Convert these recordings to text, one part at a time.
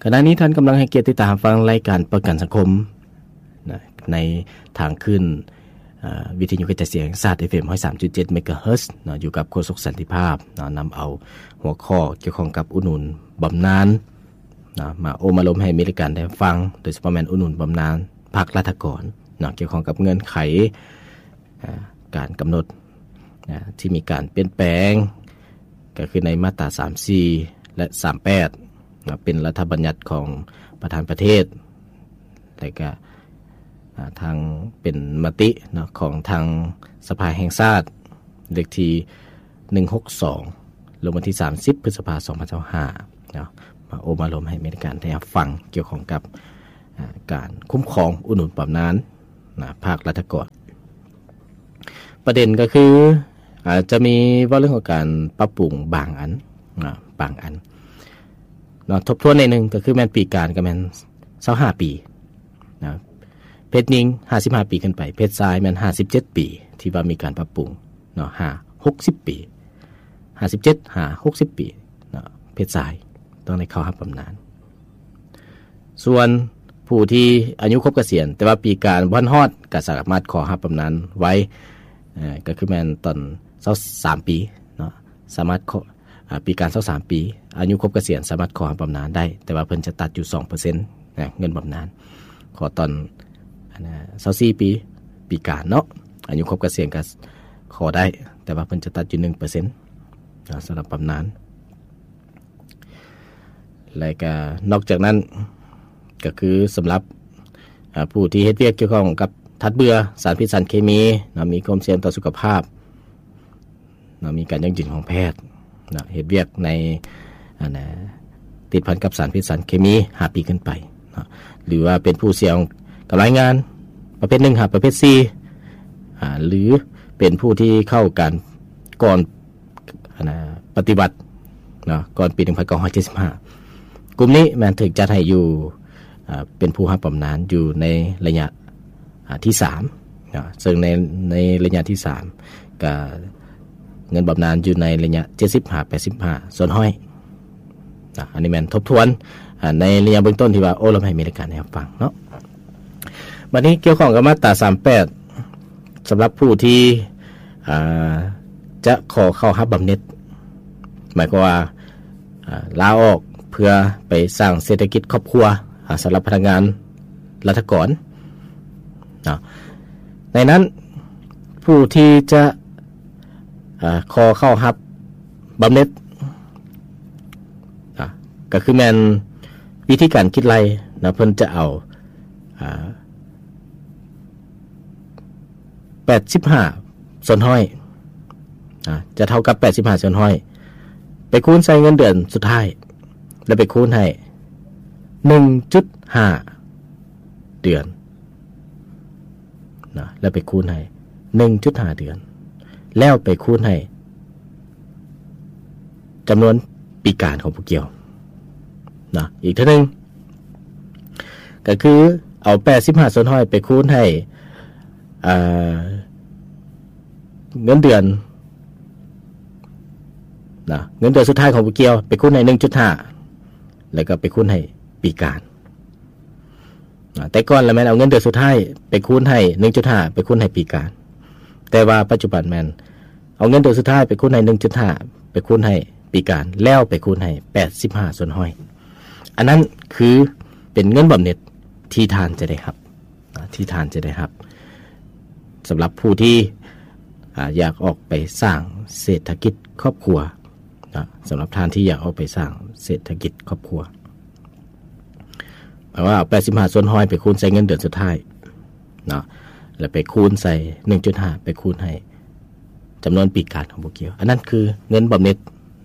ຂະນະນີ້ທ່ານກຳລັງໃຫ້ກຽດຕິດຕາມຮັບຟັງລາຍການປະກັນສັງຄົມນະ ໃນທາງຄື້ນ ເອີ ວິທະຍຸກະຈາຍສຽງແຫ່ງຊາດ ເອັຟເອັມ ຮ້ອຍສາມຈຸດເຈັດ ເມກາເຮີດ ເນາະ, ຢູ່ກັບໂຄສົກສັນຕິພາບເນາະ, ນຳເອົາຫົວຂໍ້ກ່ຽວຂ້ອງກັບອຸດໜູນບຳນານເນາະ ມາໂອ້ມາລົມໃຫ້ມີລາຍການໄດ້ຟັງ, ໂດຍສະເພາະແມ່ນອຸດໜູນບຳນານພັກລັດຖະກອນເນາະ, ກ່ຽວຂ້ອງກັບເງື່ອນໄຂ ອາ ການກຳນົດ ອາ ທີ່ມີການປ່ຽນແປງ ກໍຄືໃນມາດຕາສາມສີ່ ແລະ ສາມແປດເນາະ, ເປັນລັດຖະບັນຍັດຂອງປະທານປະເທດ ແລະກະ ອາ ທາງເປັນມະຕິເນາະ ຂອງທາງສະພາແຫ່ງຊາດ ເລກທີໜຶ່ງຫົກສອງ ລົງວັນທີສາມສິບ ພຶດສະພາ ສອງພັນຊາວຫ້າເນາະ, ມາໂອ້ມາລົມໃຫ້ມີການໄດ້ຮັບຟັງກ່ຽວຂ້ອງກັບ ອາ ການຄຸ້ມຄອງອຸດໜູນບຳນານນະ ພາກລັດຖະກອນ. ປະເດັນກໍຄື ອາ ຈະມີເວົ້າເລື່ອງຂອງການປັບປຸງບາງອັນນະ ບາງອັນເນາະ, ທົບທວນໜ້ອຍໜຶ່ງ ກໍຄືແມ່ນປີການກໍແມ່ນຊາວຫ້າປີນະ, ເພດຍິງຫ້າສິບຫ້າປີຂຶ້ນໄປ, ເພດຊາຍແມ່ນຫ້າສິບເຈັດປີ ທີ່ວ່າມີການປັບປຸງເນາະ, ຫາຫົກສິບປີ ຫ້າສິບເຈັດຫາຫົກສິບປີເນາະ, ເພດຊາຍຕ້ອງໄດ້ເຂົ້າຮັບບຳນານ. ສ່ວນຜູ້ທີ່ອາຍຸຄົບກະສຽນ ແຕ່ວ່າປີການບໍ່ທັນຮອດ ກໍສາມາດຂໍຮັບບຳນານໄວ ເອີ ກໍຄືແມ່ນຕອນຊາວສາມປີເນາະ, ສາມາດຂໍ ອາ ປີການຊາວສາມປີ ອາຍຸຄົບກະສຽນ ສາມາດຂໍຮັບບຳນານໄດ້, ແຕ່ວ່າເພິ່ນຈະຕັດຢູ່ສອງເປີເຊັນນະ ເງິນບຳນານ. ຂໍຕອນ ອັນນະ ຊາວສີ່ປີ ປີການເນາະ, ອາຍຸຄົບກະສຽນກໍຂໍໄດ້, ແຕ່ວ່າເພິ່ນຈະຕັດຢູ່ໜຶ່ງເປີເຊັນນະ ສຳລັບບຳນານ. ແລະກະນອກຈາກນັ້ນ ກໍຄືສຳລັບ ອາ ຜູ້ທີ່ເຮັດວຽກກ່ຽວຂ້ອງກັບທາດເບື່ອ ສານພິດສານເຄມີເນາະ, ມີຄວາມສ່ຽງຕໍ່ສຸຂະພາບເນາະ, ມີການຢັ້ງຢືນຂອງແພດເນາະ, ເຮັດວຽກໃນ ອັນນະ ຕິດພັນກັບສານພິດສານເຄມີຫ້າປີຂຶ້ນໄປເນາະ, ຫຼືວ່າເປັນຜູ້ສ່ຽງກັບລາຍງານປະເພດໜຶ່ງຫາປະເພດສີ່ ອາ ຫຼືເປັນຜູ້ທີ່ເຂົ້າການກ່ອນ ອັນນະ ປະຕິວັດເນາະ ກ່ອນປີໜຶ່ງພັນເກົ້າຮ້ອຍເຈັດສິບຫ້າ. ກຸ່ມນີ້ແມ່ນຖືກຈັດໃຫ້ຢູ່ ອາ ເປັນຜູ້ຮັບບຳນານຢູ່ໃນໄລຍະ ອາ ທີສາມເນາະ, ເຊິ່ງໃນ ໃນໄລຍະທີສາມ ກະເງິນບຳນານຢູ່ໃນໄລຍະເຈັດສິບຫາແປດສິບຫ້າສ່ວນຮ້ອຍນະ. ອັນນີ້ແມ່ນທົບທວນ ອາ ໃນໄລຍະເບື້ອງຕົ້ນທີ່ວ່າໂອ້ລົມໃຫ້ມີລາຍການໄດ້ຮັບຟັງເນາະ. ບັດນີ້ກ່ຽວຂ້ອງກັບມາດຕາສາມແປດ ສຳລັບຜູ້ທີ່ ອາ ຈະຂໍເຂົ້າຮັບບຳເໜັດ ໝາຍຄວາມວ່າ ອາ ລາອອກເພື່ອໄປສ້າງເສດຖະກິດຄອບຄົວ ອາ ສຳລັບພະນັກງານລັດຖະກອນເນາະ, ໃນນັ້ນຜູ້ທີ່ຈະ ອາ ຂໍເຂົ້າຮັບບຳເໜັດ ອາ ກໍຄືແມ່ນວິທີການຄິດໄລ່ນະ, ເພິ່ນຈະເອົາ ອາ ແປດສິບຫ້າສ່ວນຮ້ອຍ ອາ ຈະເທົ່າກັບແປດສິບຫ້າສ່ວນຮ້ອຍ ໄປຄູນໃສ່ເງິນເດືອນສຸດທ້າຍ ແລ້ວໄປຄູນໃຫ້ໜຶ່ງຈຸດຫ້າເດືອນ ນະ ແລ້ວໄປຄູນໃຫ້ໜຶ່ງຈຸດຫ້າເດືອນ ແລ້ວໄປຄູນໃຫ້ຈຳນວນປີການຂອງຜູ້ກ່ຽວນະ. ອີກເທື່ອໜຶ່ງ ກໍຄືເອົາແປດສິບຫ້າສ່ວນຮ້ອຍໄປຄູນໃຫ້ ເອີ ເງິນເດືອນນະ ເງິນເດືອນສຸດທ້າຍຂອງຜູ້ກ່ຽວ ໄປຄູນໃຫ້ໜຶ່ງຈຸດຫ້າ ແລ້ວກໍໄປຄູນໃຫ້ປີການ. ອາ ແຕ່ກ່ອນລະແມ່ນເອົາເງິນເດືອນສຸດທ້າຍໄປຄູນໃຫ້ໜຶ່ງຈຸດຫ້າ ໄປຄູນໃຫ້ປີການ, ແຕ່ວ່າປັດຈຸບັນແມ່ນເອົາເງິນເດືອນສຸດທ້າຍໄປຄູນໃຫ້ໜຶ່ງຈຸດຫ້າ ໄປຄູນໃຫ້ປີການ ແລ້ວໄປຄູນໃຫ້ແປດສິບຫ້າສ່ວນຮ້ອຍ. ອັນນັ້ນຄືເປັນເງິນບຳເໜັດທີ່ທ່ານຈະໄດ້ຮັບ ອາ ທີ່ທ່ານຈະໄດ້ຮັບ ສຳລັບຜູ້ທີ່ ອາ ຢາກອອກໄປສ້າງເສດຖະກິດຄອບຄົວເນາະ, ສຳລັບທ່ານທີ່ຢາກອອກໄປສ້າງເສດຖະກິດຄອບຄົວ ໝາຍວ່າເອົາແປດສິບຫ້າສ່ວນຮ້ອຍໄປຄູນໃສ່ເງິນເດືອນສຸດທ້າຍເນາະ ແລ້ວໄປຄູນໃສ່ໜຶ່ງຈຸດຫ້າ ໄປຄູນໃຫ້ຈຳນວນປີການຂອງຜູ້ກ່ຽວ. ອັນນັ້ນຄືເງິນບຳເໜັດ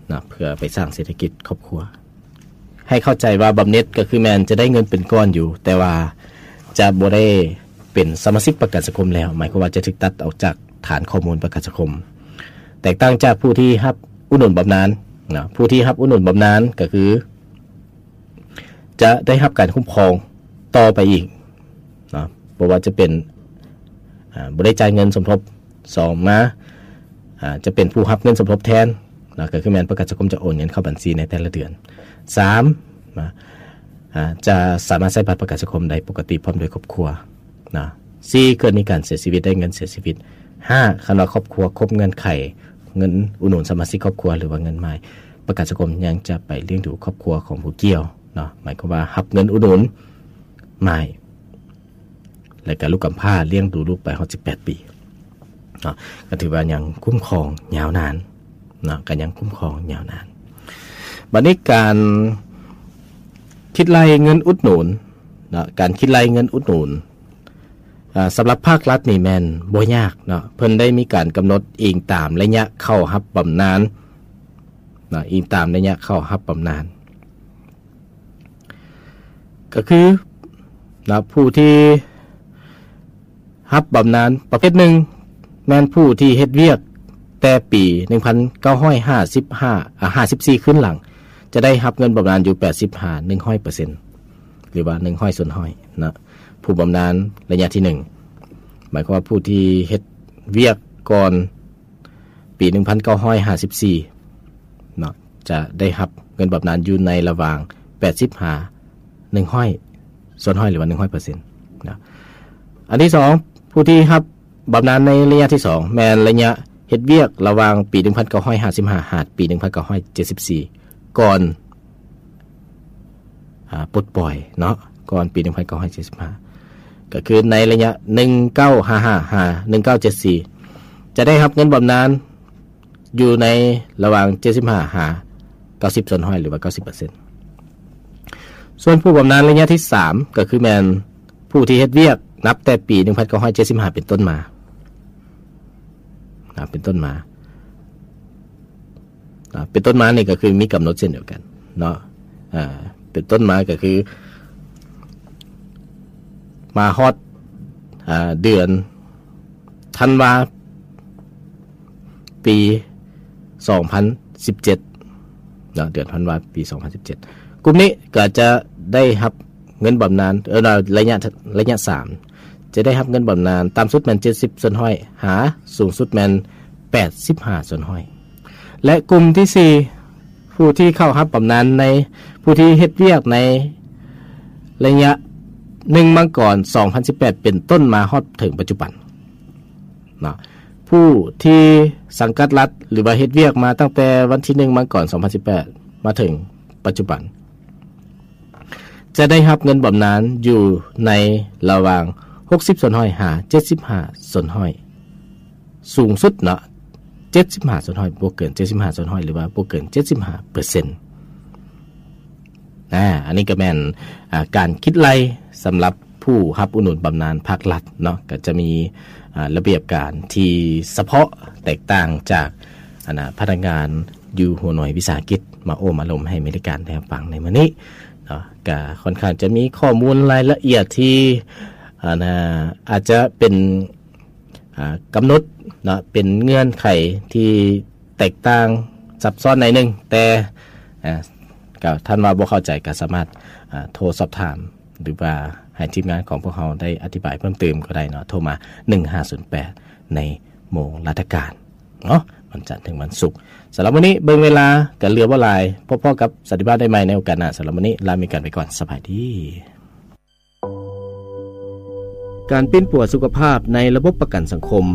ເນາະ ເພື່ອໄປສ້າງເສດຖະກິດຄອບຄົວ. ໃຫ້ເຂົ້າໃຈວ່າບຳເໜັດກໍຄືແມ່ນຈະໄດ້ເງິນເປັນກ້ອນຢູ່, ແຕ່ວ່າຈະບໍ່ໄດ້ເປັນສະມາຊິກປະກັນສັງຄົມແລ້ວ, ໝາຍຄວາມວ່າຈະຖືກຕັດອອກຈາກຖານຂໍ້ມູນປະກັນສັງຄົມ. ແຕກຕ່າງຈາກຜູ້ທີ່ຮັບອຸດໜູນບຳນານເນາະ, ຜູ້ທີ່ຮັບອຸດໜູນບຳນານກໍຄື ຈະໄດ້ຮັບການຄຸ້ມຄອງຕໍ່ໄປອີກເນາະ, ບໍ່ວ່າຈະເປັນ ອາ ບໍ່ໄດ້ຈ່າຍເງິນສົມທົບ, ສອງມາ ອາ ຈະເປັນຜູ້ຮັບເງິນສົມທົບແທນເນາະ, ກໍຄືແມ່ນປະກັນສັງຄົມຈະໂອນເງິນເຂົ້າບັນຊີໃນແຕ່ລະເດືອນ. ສາມ ນະ ຈະສາມາດໃຊ້ບັດປະກັນສັງຄົມໄດ້ປົກກະຕິພ້ອມດ້ວຍຄອບຄົວເນາະ. ສີ່ ເກີດມີການເສຍຊີວິດ ໄດ້ເງິນເສຍຊີວິດ. ຫ້າ ຄັນວ່າຄອບຄົວຄົບເງື່ອນໄຂເງິນອຸດໜູນສະມາຊິກຄອບຄົວ ຫຼືວ່າເງິນໝ້າຍ, ປະກັນສັງຄົມຍັງຈະໄປລ້ຽງດູຄອບຄົວຂອງຜູ້ກ່ຽວເນາະ, ໝາຍຄວາມວ່າຮັບເງິນອຸດໜູນໝ້າຍ ແລະກະລູກກຳພ້າ ລ້ຽງດູລູກໄປຮອດສິບແປດປີເນາະ, ກໍຖືວ່າຍັງຄຸ້ມຄອງຍາວນານເນາະ, ກໍຍັງຄຸ້ມຄອງຍາວນານ. ບັດນີ້ການຄິດໄລ່ເງິນອຸດໜູນເນາະ, ການຄິດໄລ່ເງິນອຸດໜູນ ອາ ສຳລັບພາກລັດນີ້ແມ່ນບໍ່ຍາກເນາະ, ເພິ່ນໄດ້ມີການກຳນົດອີງຕາມໄລຍະເຂົ້າຮັບບຳນານເນາະ, ອີງຕາມໄລຍະເຂົ້າຮັບບຳນານ ກໍຄືນະ ຜູ້ທີ່ຮັບບຳນານປະເພດໜຶ່ງ ແມ່ນຜູ້ທີ່ເຮັດວຽກແຕ່ປີໜຶ່ງພັນເກົ້າຮ້ອຍຫ້າສິບຫ້າ ອາ ຫ້າສິບສີ່ ຄືນຫຼັງ ຈະໄດ້ຮັບເງິນບຳນານຢູ່ແປດສິບຫາໜຶ່ງຮ້ອຍເປີເຊັນ ຫຼືວ່າໜຶ່ງຮ້ອຍສ່ວນຮ້ອຍນະ. ຜູ້ບຳນານໄລຍະທີໜຶ່ງ ໝາຍຄວາມວ່າຜູ້ທີ່ເຮັດວຽກກ່ອນ ປີໜຶ່ງພັນເກົ້າຮ້ອຍຫ້າສິບສີ່ເນາະ ຈະໄດ້ຮັບເງິນບຳນານຢູ່ໃນລະຫວ່າງແປດສິບຫາໜຶ່ງຮ້ອຍສ່ວນຮ້ອຍ ຫຼືວ່າໜຶ່ງຮ້ອຍເປີເຊັນນະ. ອັນທີສອງ ຜູ້ທີ່ຮັບບຳນານໃນໄລຍະທີສອງ ແມ່ນໄລຍະເຮັດວຽກລະຫວ່າງປີໜຶ່ງພັນເກົ້າຮ້ອຍຫ້າສິບຫ້າ ຫາດປີໜຶ່ງພັນເກົ້າຮ້ອຍເຈັດສິບສີ່ ກ່ອນ ອາ ປົດປ່ອຍເນາະ ກ່ອນປີໜຶ່ງພັນເກົ້າຮ້ອຍເຈັດສິບຫ້າ ກໍຄືໃນໄລຍະໜຶ່ງເກົ້າຫ້າຫ້າ ຫາ ໜຶ່ງເກົ້າເຈັດສີ່ ຈະໄດ້ຮັບເງິນບຳນານຢູ່ໃນລະຫວ່າງເຈັດສິບຫ້າຫາເກົ້າສິບສ່ວນຮ້ອຍ ຫຼືວ່າເກົ້າສິບເປີເຊັນ. ສ່ວນຜູ້ບຳນານໄລຍະທີສາມ ກໍຄືແມ່ນຜູ້ທີ່ເຮັດວຽກນັບແຕ່ປີໜຶ່ງພັນເກົ້າຮ້ອຍເຈັດສິບຫ້າເປັນຕົ້ນມາ ອາ ເປັນຕົ້ນມາ ອາ ເປັນຕົ້ນມານີ້ກໍຄືມີກຳນົດເຊັ່ນດຽວກັນເນາະ ອາ ເປັນຕົ້ນມາກໍຄືມາຮອດ ອາ ເດືອນທັນວາ ປີສອງພັນສິບເຈັດເນາະ ເດືອນທັນວາ ປີສອງພັນສິບເຈັດ ກຸ່ມນີ້ກໍຈະໄດ້ຮັບເງິນບຳນານ ເອີ ໄລຍະ ໄລຍະສາມ ຈະໄດ້ຮັບເງິນບຳນານຕ່ຳສຸດແມ່ນເຈັດສິບສ່ວນຮ້ອຍ ຫາ ສູງສຸດແມ່ນແປດສິບຫ້າສ່ວນຮ້ອຍ ແລະ ກຸ່ມທີສີ່ ຜູ້ທີ່ເຂົ້າຮັບບຳນານໃນ ຜູ້ທີ່ເຮັດວຽກໃນໄລຍະໜຶ່ງມັງກອນສອງພັນສິບແປດເປັນຕົ້ນມາຮອດເຖິງປັດຈຸບັນເນາະ ຜູ້ທີ່ສັງກັດລັດ ຫຼືວ່າເຮັດວຽກມາຕັ້ງແຕ່ວັນທີໜຶ່ງມັງກອນສອງພັນສິບແປດ ມາເຖິງປັດຈຸບັນ ຈະໄດ້ຮັບເງິນບຳນານຢູ່ໃນລະຫວ່າງຫົກສິບສ່ວນຮ້ອຍ ຫາ ເຈັດສິບຫ້າສ່ວນຮ້ອຍ ສູງສຸດເນາະ ເຈັດສິບຫ້າສ່ວນຮ້ອຍ ບໍ່ເກີນເຈັດສິບຫ້າສ່ວນຮ້ອຍ ຫຼືວ່າບໍ່ເກີນເຈັດສິບຫ້າເປີເຊັນ. ອາ ອັນນີ້ກໍແມ່ນ ອາ ການຄິດໄລ່ສຳລັບຜູ້ຮັບອຸດໜູນບຳນານພາກລັດເນາະ ກໍຈະມີ ອາ ລະບຽບການທີ່ສະເພາະແຕກຕ່າງຈາກ ອັນນະ ພະນັກງານຢູ່ຫົວໜ່ວຍວິສາຫະກິດ ມາໂອ້ມາລົມໃຫ້ແຟນລາຍການໄດ້ຮັບຟັງໃນມື້ນີ້ເນາະ ກະຄ່ອນຂ້າງຈະມີຂໍ້ມູນລາຍລະອຽດທີ່ ອັນນະ ອາດຈະເປັນ ອາ ກຳນົດເນາະ ເປັນເງື່ອນໄຂທີ່ແຕກຕ່າງຊັບຊ້ອນໜ້ອຍໜຶ່ງ ແຕ່ ອາ ກໍທ່ານວ່າບໍ່ເຂົ້າໃຈ ກໍສາມາດ ອາ ໂທສອບຖາມ ຫຼືວ່າໃຫ້ທີມງານຂອງພວກເຮົາໄດ້ອະທິບາຍເພີ່ມເຕີມກໍໄດ້ເນາະ ໂທມາໜຶ່ງຫ້າສູນແປດ ໃນໂມງລາຊະການເນາະ ວັນຈັນເຖິງວັນສຸກ. ສຳລັບມື້ນີ້ເບິ່ງເວລາກໍເຫຼືອບໍ່ຫຼາຍ ພົບພໍ້ກັບສັນຕິພາບໄດ້ໃໝ່ໃນໂອກາດໜ້າ. ສຳລັບມື້ນີ້ລາມີກັນໄປກ່ອນ ສະບາຍດີ. ການປິ່ນປົວສຸຂະພາບໃນລະບົບປະກັນສັງຄົມ.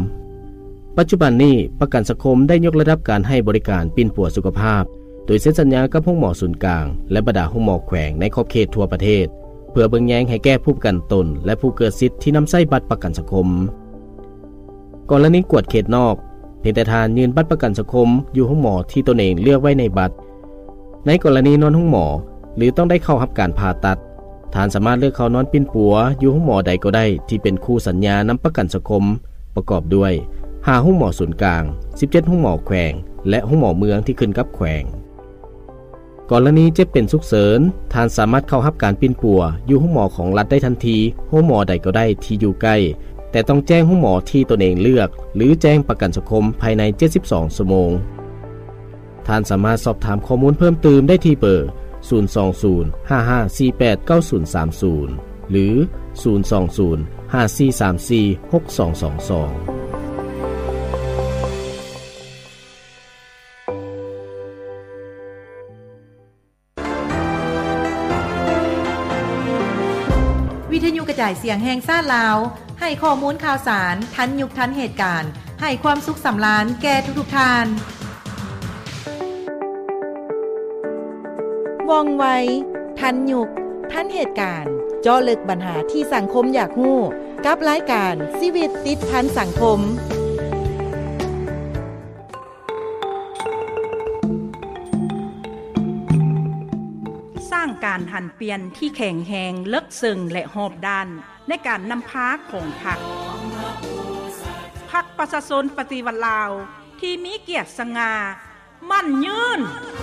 ປັດຈຸບັນນີ້ ປະກັນສັງຄົມໄດ້ຍົກລະດັບການໃຫ້ບໍລິການປິ່ນປົວສຸຂະພາບ ໂດຍເຊັນສັນຍາກັບໂຮງໝໍສູນກາງ ແລະ ບັນດາໂຮງໝໍແຂວງໃນຂອບເຂດທົ່ວປະເທດ ເພື່ອເບິ່ງແຍງໃຫ້ແກ່ຜູ້ປະກັນຕົນ ແລະ ຜູ້ເກີດສິດທີ່ນຳໃຊ້ບັດປະກັນສັງຄົມ. ກໍລະນີກວດເຂດນອກ, ພຽງແຕ່ທ່ານຍື່ນບັດປະກັນສັງຄົມຢູ່ໂຮງໝໍທີ່ຕົນເອງເລືອກໄວ້ໃນບັດ. ໃນກໍລະນີນອນໂຮງໝໍ ຫຼື ຕ້ອງໄດ້ເຂົ້າຮັບການຜ່າຕັດ, ທ່ານສາມາດເລືອກເຂົ້ານອນປິ່ນປົວຢູ່ໂຮງໝໍໃດກໍໄດ້ທີ່ເປັນຄູ່ສັນຍານຳປະກັນສັງຄົມ ປະກອບດ້ວຍ ຫ້າໂຮງໝໍສູນກາງ, ສິບເຈັດໂຮງໝໍແຂວງ ແລະ ໂຮງໝໍເມືອງທີ່ຂຶ້ນກັບແຂວງ. ກໍລະນີເຈັບເປັນສຸກເສີນ, ທ່ານສາມາດເຂົ້າຮັບການປິ່ນປົວຢູ່ໂຮງໝໍຂອງລັດໄດ້ທັນທີ, ໂຮງໝໍໃດກໍໄດ້ທີ່ຢູ່ໃກ້, ແຕ່ຕ້ອງແຈ້ງໂຮງໝໍທີ່ຕົນເອງເລືອກ ຫຼື ແຈ້ງປະກັນສັງຄົມພາຍໃນເຈັດສິບສອງຊົ່ວໂມງ. ທ່ານສາມາດສອບຖາມຂໍ້ມູນເພີ່ມຕື່ມໄດ້ທີ່ເບີ ສູນສອງສູນ ຫ້າຫ້າສີ່ແປດ ເກົ້າສູນສາມສູນ ຫຼື ສູນສອງສູນ ຫ້າສີ່ສາມສີ່ ຫົກສອງສອງສອງ. ວິທະຍຸກະຈາຍສຽງແຫ່ງຊາດລາວ ໃຫ້ຂໍ້ມູນຂ່າວສານ ທັນຍຸກທັນເຫດການ ໃຫ້ຄວາມສຸກສຳລານແກ່ທຸກໆທ່ານ. ວ່ອງໄວ, ທັນຍຸກ, ທັນເຫດການ, ເຈາະເລິກບັນຫາທີ່ສັງຄົມຢາກຮູ້ ກັບລາຍການຊີວິດຕິດພັນສັງຄົມ. ສ້າງການຫັນປ່ຽນທີ່ແຂງແຮງ, ເລິກເຊິ່ງ ແລະ ຮອບດ້ານ ໃນການນຳພາຂອງພັກ. ພັກປະຊາຊົນປະຕິວັດລາວ ທີ່ມີກຽດສະຫງ່າ ໝັ້ນຍືນ.